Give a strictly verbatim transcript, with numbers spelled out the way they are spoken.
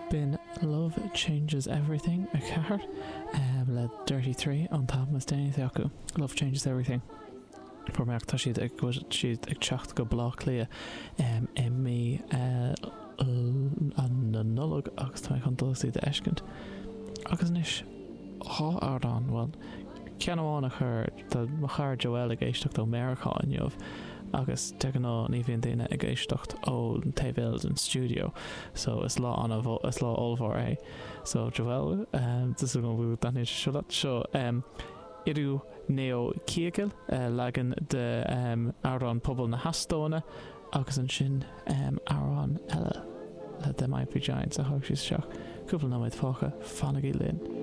B'in Love Changes Everything a ceathair le Dirty Three an t-albam is déanaí acu, Love Changes Everything. Fuair mé amach tá siad ag siad ag teacht go Baile Átha Cliath i mí na Nollag agus tá mé chun dul iad a fheiscint. Agus anois dhá amhrán, bhuel, ceann amháin a chur tá mo chara Joel ag éisteacht ó Meiriceá inniu agus de ghnáth ní bhíonn daoine ag éisteacht ón taobh eile den stiúideo so is lá an is lá ollmhór é. So Joel um, seo seo um, Iru Neo Kiegel uh, leagan de um, amhrán pobal na hEastóine agus ansin um, amhrán eile le Them Might Be Giants a thug sí isteach. Cúpla nóiméad fágtha fanaigí linn.